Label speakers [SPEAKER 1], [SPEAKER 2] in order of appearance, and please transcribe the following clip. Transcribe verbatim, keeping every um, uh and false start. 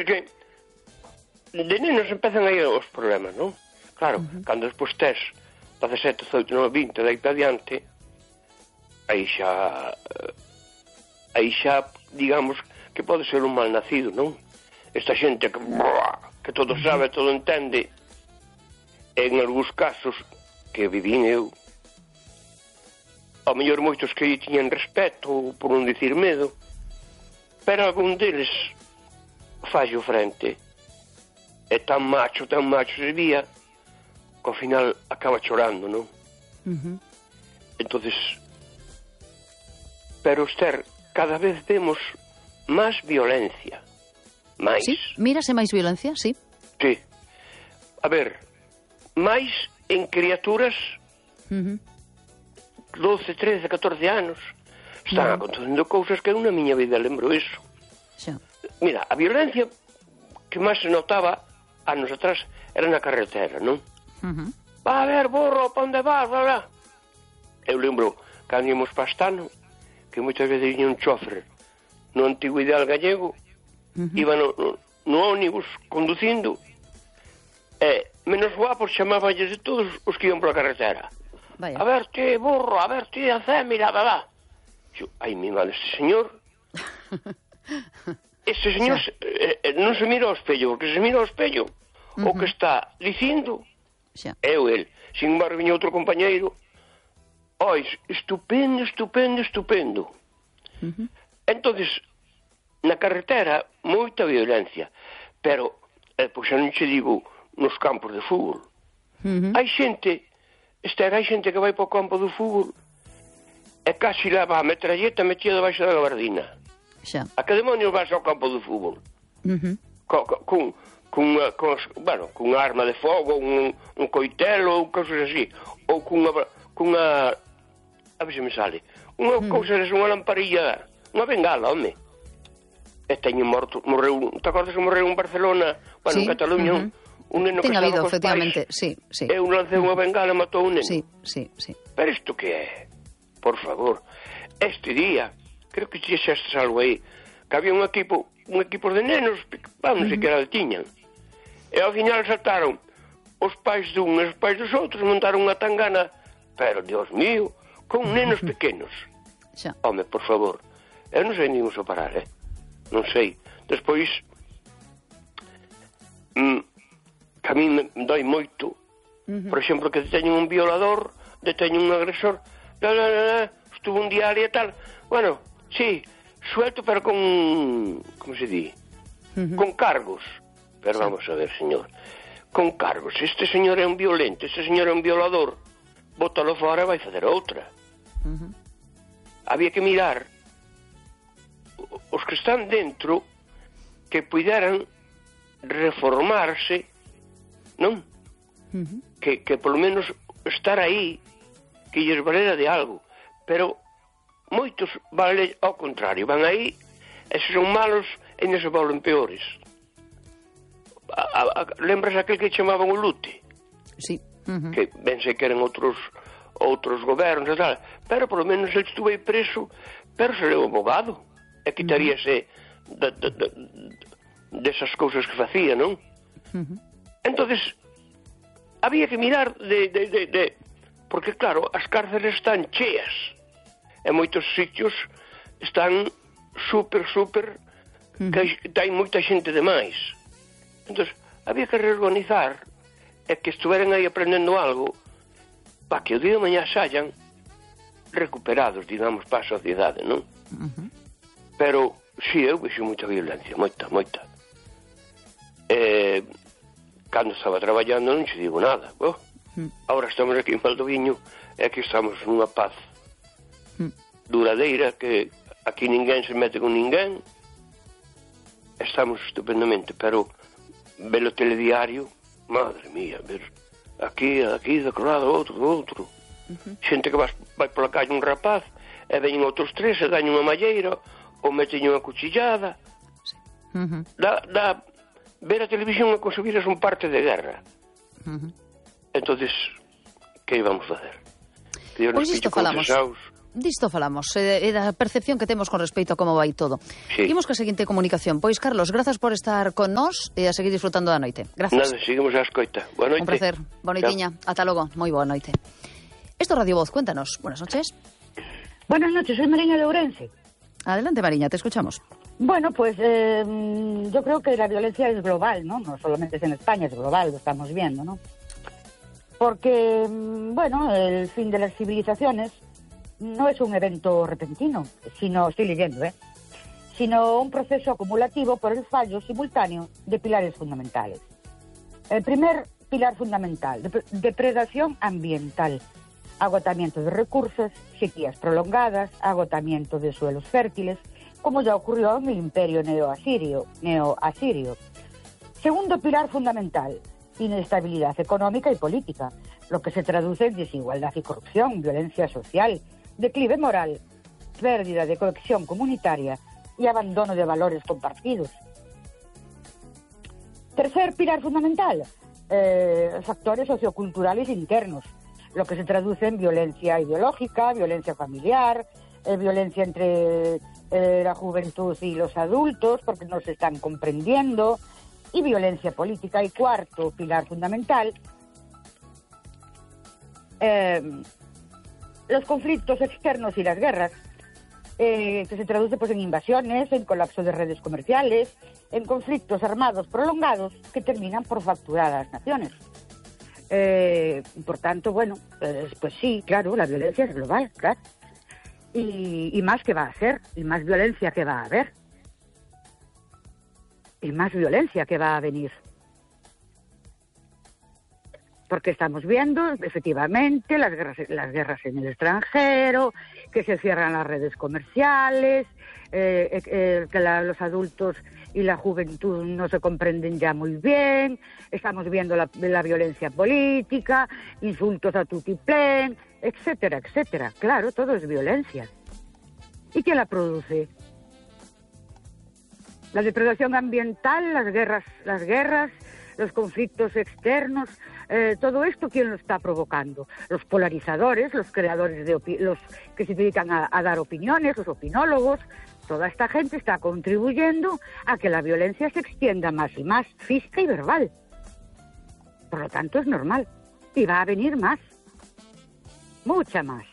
[SPEAKER 1] que de nenos empezan aí os problemas, non? Claro, uh-huh. Cando despois tes dezasete, dezoito, dezenove, vinte, daí para adiante, aí xa aí xa, digamos, que pode ser un mal nacido, non? Esta xente que, que todo sabe, todo entende, en algúns casos que vivín eu, ao mellor moitos que tiñan respeto, por non dicir medo, pero algún deles fallo frente. É tan macho, tan macho se vía, que ao final acaba chorando, non?
[SPEAKER 2] Uh-huh.
[SPEAKER 1] Entonces, pero, Esther, cada vez vemos máis violencia. Máis.
[SPEAKER 2] Sí, mírase máis violencia, sí.
[SPEAKER 1] Sí. A ver, máis en criaturas
[SPEAKER 2] uh-huh.
[SPEAKER 1] doce, trece, catorce anos. Están uh-huh. acontecendo cousas que na miña vida lembro iso.
[SPEAKER 2] Sí.
[SPEAKER 1] Mira, a violencia que máis se notaba anos atrás era na carretera, non?
[SPEAKER 2] Uh-huh.
[SPEAKER 1] Va a ver, burro, pa onde vas, bla, bla. Eu lembro, cando íamos pa Astano, que moitas veces viña un chofer no antigo ideal gallego, uh-huh. iba no, no, no ónibus conducindo, e menos guapos chamabanlles de todos os que iban pola carretera.
[SPEAKER 2] Vaya.
[SPEAKER 1] A ver ti, burro, a ver ti, a mira, bla, bla. Yo, ai, mi madre, este señor... este señor se, eh, non se mira ao espello, porque se mira ao espello, uh-huh. o que está dicindo
[SPEAKER 2] xa.
[SPEAKER 1] É o el. Sin embargo, viña outro compañeiro, oi, estupendo, estupendo, estupendo.
[SPEAKER 2] Uh-huh.
[SPEAKER 1] Entonces, na carretera, moita violencia, pero, eh, pois xa non che digo, nos campos de fútbol.
[SPEAKER 2] Uh-huh.
[SPEAKER 1] Hai xente, Esther, hai xente que vai para o campo do fútbol e casi leva a metralleta metida debaixo da gabardina.
[SPEAKER 2] Xa.
[SPEAKER 1] A que demonios vas ao campo do fútbol?
[SPEAKER 2] Uh-huh.
[SPEAKER 1] Co, co, con, con, con, bueno, con arma de fogo, un, un coitelo, ou cousas así, ou cunha, cunha, a ver se me sale, unha uh-huh. cousa, unha lamparilla, unha bengala, home. E teño morto, morreu, te acordas que morreu en Barcelona, bueno,
[SPEAKER 2] sí.
[SPEAKER 1] en Cataluña,
[SPEAKER 2] uh-huh.
[SPEAKER 1] un neno
[SPEAKER 2] Ten
[SPEAKER 1] que
[SPEAKER 2] habido,
[SPEAKER 1] estaba cos
[SPEAKER 2] efectivamente,
[SPEAKER 1] pais,
[SPEAKER 2] sí, sí.
[SPEAKER 1] Eu lancei unha bengala e matou un neno.
[SPEAKER 2] Sí, sí, sí.
[SPEAKER 1] Pero isto que é? Por favor. Este día, creo que xa estás algo aí, que había un equipo, un equipo de nenos, vamos, non sei que era de tiñan. E ao final saltaron os pais dun e os pais dos outros, montaron unha tangana, pero, Dios mío, con nenos pequenos.
[SPEAKER 2] Xa.
[SPEAKER 1] Home, por favor. Eu non sei nin uso parar, eh? Non sei. Despois, mm, que a mí me doi moito, uh-huh. por exemplo, que teñen un violador, deteñen un agresor, la, la, la, la, estuvo un diario e tal. Bueno, sí, suelto, pero con, como se di? Uh-huh. Con cargos. Pero sí. Vamos a ver, señor, con cargos. Este señor é un violento, este señor é un violador, bótalo fora e vai fazer outra.
[SPEAKER 2] Uh-huh.
[SPEAKER 1] Había que mirar os que están dentro que puderan reformarse, non?
[SPEAKER 2] Uh-huh.
[SPEAKER 1] Que, que polo menos estar aí, que lles valera de algo. Pero moitos vale ao contrario, van aí e se son malos ainda se volven peores. A, a, a, lembras aquel que chamaban o Lute?
[SPEAKER 2] Sí. Uh-huh.
[SPEAKER 1] Que ben sei que eran outros outros gobernos e tal, pero polo menos ele estuve preso, pero se leu abogado e quitaríase uh-huh. de, de, de, desas cousas que facía, non?
[SPEAKER 2] Uh-huh.
[SPEAKER 1] Entonces había que mirar de, de, de, de porque claro, as cárceles están cheas e moitos sitios están super, super uh-huh. que hai moita xente de máis. Entón, había que reorganizar e que estuveran aí aprendendo algo para que o día de mañá saian recuperados, digamos, para a sociedade, non?
[SPEAKER 2] Uh-huh.
[SPEAKER 1] Pero, si, sí, eu vexo moita violencia, moita, moita. Eh, cando estaba traballando non se digo nada. Oh, uh-huh. Ahora estamos aquí en Valdoviño e aquí estamos nunha paz uh-huh. duradeira, que aquí ninguén se mete con ninguén. Estamos estupendamente, pero velo telediario, madre mía, ver aquí, aquí, de lado, outro, do outro. Uh-huh. Xente que vai, vai pola calle un rapaz e veñen outros tres e dañen unha malleira ou meten unha cuchillada.
[SPEAKER 2] Sí. Uh-huh.
[SPEAKER 1] Da, da, ver a televisión é como se viras un parte de guerra. Uh-huh. Entonces, que íbamos facer? Que Dios nos
[SPEAKER 2] pois isto falamos. disto falamos, e, e da percepción que temos con respecto a como vai todo.
[SPEAKER 1] Sí.
[SPEAKER 2] Imos ca seguinte comunicación. Pois, Carlos, grazas por estar con nós e a seguir disfrutando da noite. Grazas.
[SPEAKER 1] Nada, seguimos a escoita. Boa noite.
[SPEAKER 2] Un placer. Boa noitiña. Ata logo. Moi boa noite. Esto es Radio Voz. Cuéntanos. Buenas noches.
[SPEAKER 3] Buenas noches, soy Mariña de Ourense.
[SPEAKER 2] Adelante, Mariña, te escuchamos.
[SPEAKER 3] Bueno, pues eh, yo creo que la violencia es global, ¿no? No solamente es en España, es global, lo estamos viendo, ¿no? Porque, bueno, el fin de las civilizaciones no es un evento repentino, sino, estoy leyendo, ¿eh? Sino un proceso acumulativo por el fallo simultáneo de pilares fundamentales. El primer pilar fundamental, dep- depredación ambiental, agotamiento de recursos, sequías prolongadas, agotamiento de suelos fértiles, como ya ocurrió en el imperio neoasirio. neoasirio. Segundo pilar fundamental, inestabilidad económica y política, lo que se traduce en desigualdad y corrupción, violencia social, declive moral, pérdida de cohesión comunitaria y abandono de valores compartidos. Tercer pilar fundamental, eh, factores socioculturales internos, lo que se traduce en violencia ideológica, violencia familiar, eh, violencia entre eh, la juventud y los adultos, porque no se están comprendiendo, y violencia política. Y cuarto pilar fundamental, eh, los conflictos externos y las guerras, eh, que se traduce pues en invasiones, en colapso de redes comerciales, en conflictos armados prolongados que terminan por fracturar a las naciones. Eh, por tanto, bueno, pues, pues sí, claro, la violencia es global, claro. Y, y más que va a ser, y más violencia que va a haber. Y más violencia que va a venir. Porque estamos viendo, efectivamente, las guerras, las guerras en el extranjero, que se cierran las redes comerciales, eh, eh, que la, los adultos y la juventud no se comprenden ya muy bien, estamos viendo la, la violencia política, insultos a tutiplén, etcétera, etcétera. Claro, todo es violencia. ¿Y quién la produce? La depredación ambiental, las guerras, las guerras, los conflictos externos, eh, todo esto, ¿quién lo está provocando? Los polarizadores, los creadores de opi- los que se dedican a, a dar opiniones, los opinólogos. Toda esta gente está contribuyendo a que la violencia se extienda más y más, física y verbal. Por lo tanto, es normal. Y va a venir más. Mucha más.